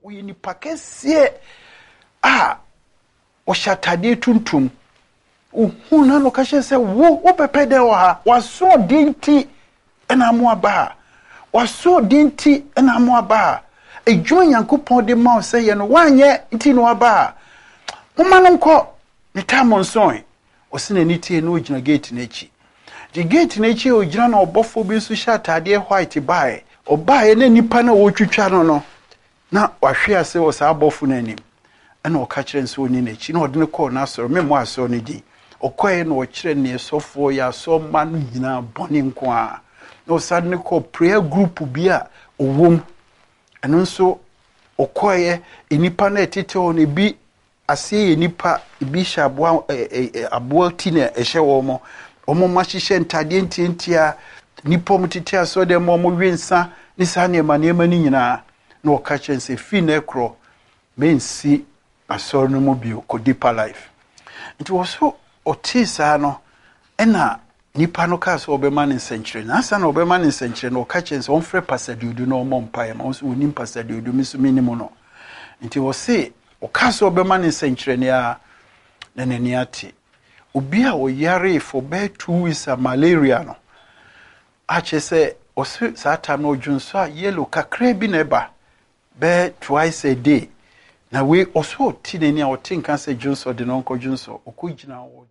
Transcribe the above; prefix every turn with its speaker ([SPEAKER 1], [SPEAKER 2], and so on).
[SPEAKER 1] Ɔyɛ nipa kɛseɛ a ɔhyɛ atadeɛ tuntum. Ohuu no na ɔka kyerɛ sɛ, Wo, wobɛpɛ dɛn wɔ ha? W'asoɔden nti na ama woaba ha. W'asoɔden nti na ama woaba ha. Adwuma Nyankopɔn de ma wo sɛ yɛ no, woanyɛ nti na woaba ha. Momma no nkɔ, ne tam nsoe. Ɔse n'ani tee na ɔgyina gate no akyi. Nti gate no akyi a ɔgyina na ɔbɔfoɔ bi nso hyɛ ataadeɛ white baeɛ. Ɔbaeɛ na nipa no a ɔretwitwa no no, na wahwe ase wɔ saa abɔfo no anim. Ɛna ɔka kyerɛ no sɛ ɔnni n'akyi na ɔde no kɔɔ n'asɔre, memmɔ asɔre no din. Ɔkɔeɛ na ɔkyerɛ neɛ sɔfoɔ yɛ asɔremma no nyinaa bɔne nko ara. Na ɔsan de no kɔɔ prayer group bi a ɔwɔ mu. Ɛno nso ɔkɔeɛ, nnipa no a ɛtete hɔ no ebi Aseɛ yɛ nnipa, ebi hyɛ aboa ɛ ɛ aboa ti na ɛhyɛ wɔn. Wɔn mma hyehyɛ ntadeɛ ntiantia, nnipa a wɔtete asɔredan mu a wɔwe nsa ne saa nneɛma nneɛma no nyinaa. Na ɔka kyerɛ no sɛ, firi nnɛ korɔ, mensi asɔre no mu bio, kɔ Deeper Life. Nti wɔ so ɔtee saa no, ɛna Nipa no kaa sɛ ɔbɛma no nsɛnkyerɛnne. Ansa na ɔbɛma no nsɛnkyerɛnne no, ɔka kyerɛɛ no sɛ ɔmfrɛ Pastor Duodu na ɔmmɔ mpaeɛ ma. Ɔno nso ɔnim Pastor Duodu, me nso menim no. Nti ɔse ɔkaa sɛ ɔbɛma no nsɛnkyerɛnne ara na n'ani ate. Obi a ɔyaree for bɛyɛ 2 weeks a malaria no, a kyerɛ sɛ ɔse saa time no ɔdwonsɔ a yellow kakraa bi na ɛba bɛyɛ twice a day. Na wei ɔse ɔte n'ani a ɔte nka sɛ dwonsɔ de no ɔnkɔ dwonsɔ, ɔkɔgyina hɔ.